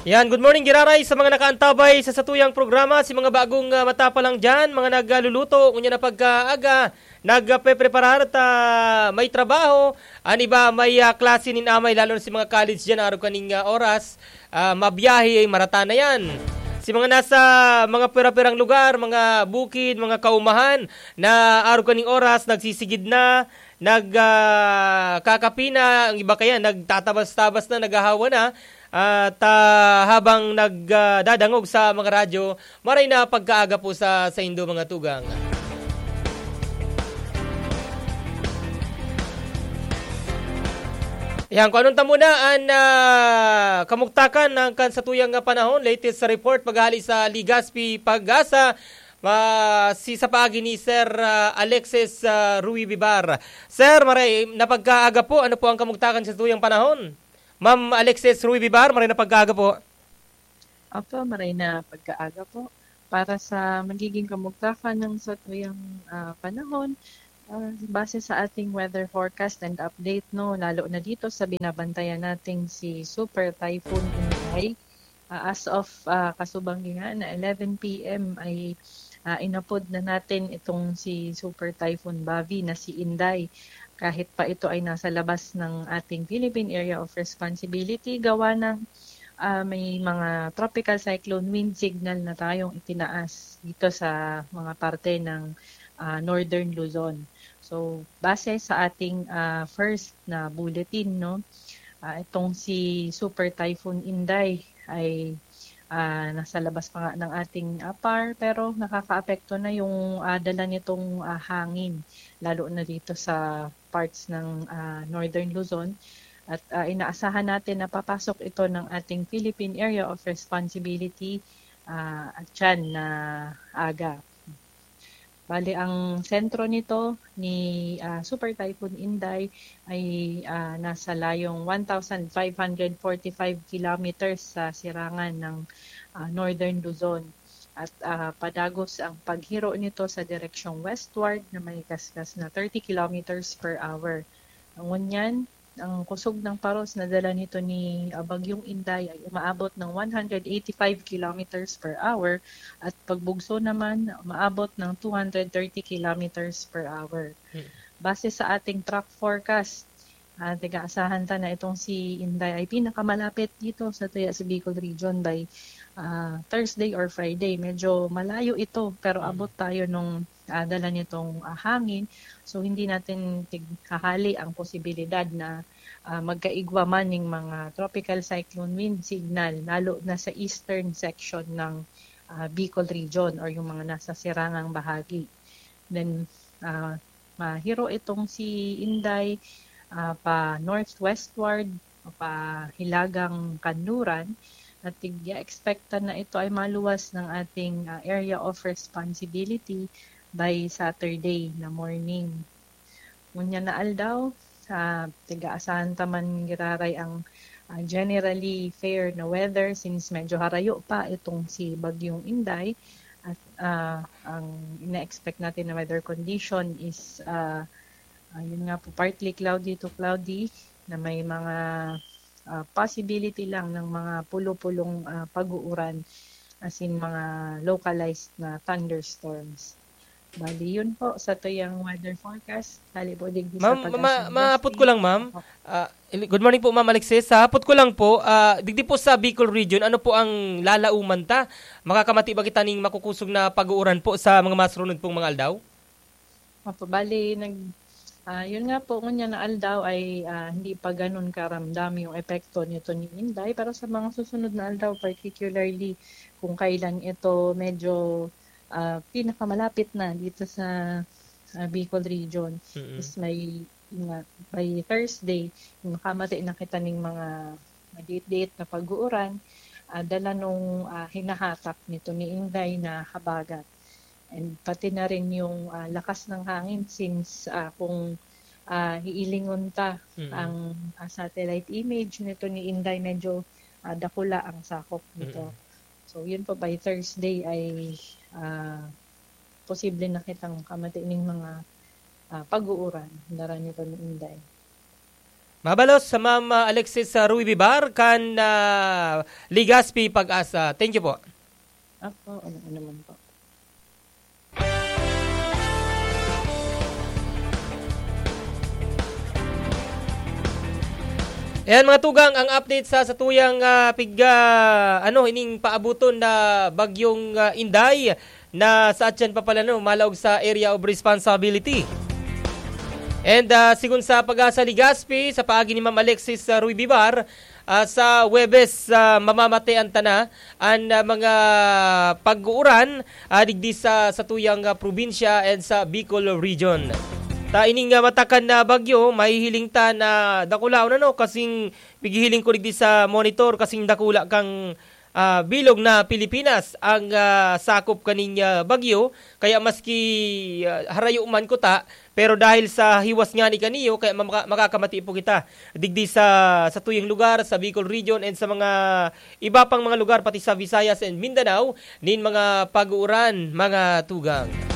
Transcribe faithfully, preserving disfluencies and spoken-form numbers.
Yan, good morning, giraray sa mga nakaantabay sa satuyang programa, si mga bagong, ah, mata pa lang dyan, mga nagluluto, ngunyan na pagkaaga, nagpepreparar ta may trabaho, an iba may, ah, klase nin amay, lalo na si mga college dyan, arog kaning, ah, oras, ah, mabiyahe, marata na yan. Si mga nasa mga pira-pirang lugar, mga bukid, mga kaumahan, na arog kaning oras, nagsisigid na, nag, ah, kakapi na, ang iba kaya nagtatabas-tabas na, naghahawa na, at, ah, habang nag, ah, dadangog sa mga radyo, maray na pagkaaga po sa saindo, mga tugang. Yan, kung anong ta muna an, ah, kamugtakan ng kan satuyang panahon, latest report paghali sa Legazpi, Pag-asa, ma-, si sa paagi ni Sir, ah, Alexis, ah, Rui Bibar. Sir, maray na pagkaaga po, ano po ang kamugtakan sa satuyang panahon? Ma'am Alexis Rui Bibar, maray na pagkaaga po. Opo, maray na pagkaaga po. Para sa magiging kamugtakan ng satuyang, ah, panahon, ah, base sa ating weather forecast and update, no, lalo na dito sa binabantayan nating si Super Typhoon Inday, ah, as of, ah, kasubang nga na eleven P M ay, ah, inapod na natin itong si Super Typhoon Bavi na si Inday. Kahit pa ito ay nasa labas ng ating Philippine Area of Responsibility, gawa ng, ah, may mga tropical cyclone wind signal na tayong itinaas dito sa mga parte ng, ah, Northern Luzon. So, base sa ating, ah, first na bulletin, no, ah, itong si Super Typhoon Inday ay, ah, nasa labas pa nga ng ating, ah, par, pero nakakaapekto na yung, ah, dala nitong, ah, hangin, lalo na dito sa parts ng, ah, Northern Luzon. At, ah, inaasahan natin na papasok ito ng ating Philippine Area of Responsibility, ah, at yan na aga. Bali, ang sentro nito ni, ah, Super Typhoon Inday ay, ah, nasa layong one thousand five hundred forty-five kilometers sa sirangan ng, ah, Northern Luzon. At, ah, padagos ang paghiro nito sa direksyong westward na may kaskas na thirty kilometers per hour. Ngunyan, ang kusog ng paros na dala nito ni, ah, Bagyong Inday ay umaabot ng one hundred eighty-five kilometers per hour at pagbugso naman umaabot ng two hundred thirty kilometers per hour. Hmm. Base sa ating track forecast, ah, tiga-asahan ta na itong si Inday ay pinakamalapit dito sa tuya sa Bicol Region by, ah, Thursday or Friday. Medyo malayo ito, pero Hmm. abot tayo nung, ah, dala nitong, ah, hangin. So, hindi natin tighahali ang posibilidad na, ah, magkaigwa man ning mga tropical cyclone wind signal, lalo na sa eastern section ng, ah, Bicol Region or yung mga nasa sirangang bahagi. Then, ah, mahiro itong si Inday, ah, pa northwestward o pa hilagang kanluran, at tig-expectan na ito ay maluwas ng ating, ah, area of responsibility by Saturday na morning. Ngunyan na aldaw, ah, tiga-asahan ta man giraray ang, ah, generally fair na weather since medyo harayo pa itong si Bagyong Inday. At, ah, ang ina-expect natin na weather condition is, ah, ah, yun nga po, partly cloudy to cloudy na may mga, ah, possibility lang ng mga pulo-pulong, ah, pag-uuran, as in mga localized na thunderstorms. Bali, yun po sa tuyang weather forecast. Hali po digdi sa Ma'am, ma-, Pag-asa maapot ko Industry. lang, ma'am. Opo. Ah, ili-, good morning po, Ma'am Alexis. Sa apot ko lang po, ah, digdi po sa Bicol Region, ano po ang lalauman ta? Makakamati ba kita ning makukusog na pag-uuran po sa mga masunod pong mga aldaw? Opo, bali, nag-, ah, yun nga po, ngunyan na aldaw ay, ah, hindi pa ganun karamdam yung epekto nito ni Inday, pero sa mga susunod na aldaw, particularly kung kailan ito medyo, ah, pinakamalapit na dito sa, ah, Bicol Region, Mm-mm. is may, yun nga, by Thursday, makamati na kita ning mga madiit-diit na pag-uuran, ah, dala nung, ah, hinahatak nito ni Inday na habagat. And pati na rin yung, ah, lakas ng hangin since, ah, kung, ah, iilingon ta Mm. ang, ah, satellite image nito ni Inday, medyo, ah, dakula ang sakop nito. Mm. So, yun po, by Thursday ay, ah, posible na kitang kamati ning mga, ah, pag-uuran, dara nito ni Inday. Mabalos sa Ma'am, ah, Alexis, ah, Rui Bibar kan, ah, Legazpi, PAGASA. Thank you po. Apo, ano, ano man po. Ayan, mga tugang, ang update sa satuyang, ah, pig-, ah, ano, ining paabuton na bagyong, ah, Inday na sa atyan pa pala, no, malaog sa area of responsibility. And, ah, sigon sa PAGASA Legazpi, sa paagi ni Ma'am Alexis, ah, Rui Bibar, ah, sa Huwebes, ah, mamamate an tana an, ah, mga pag-uuran, ah, digdi sa satuyang, ah, probinsya and sa Bicol Region. Ta ining, ah, matakan na bagyo, mahihiling ta na dakulaon, ano, kasing pighihiling ko digdi sa monitor, kasing dakula kang, ah, bilog na Pilipinas ang, ah, sakop kaning, ah, bagyo. Kaya maski, ah, harayo man kuta, pero dahil sa hiwas ngani kaniyo, kaya maka-, makakamati po kita digdi sa, sa tuyang lugar, sa Bicol Region, and sa mga iba pang mga lugar, pati sa Visayas and Mindanao, nin mga pag-uuran, mga tugang.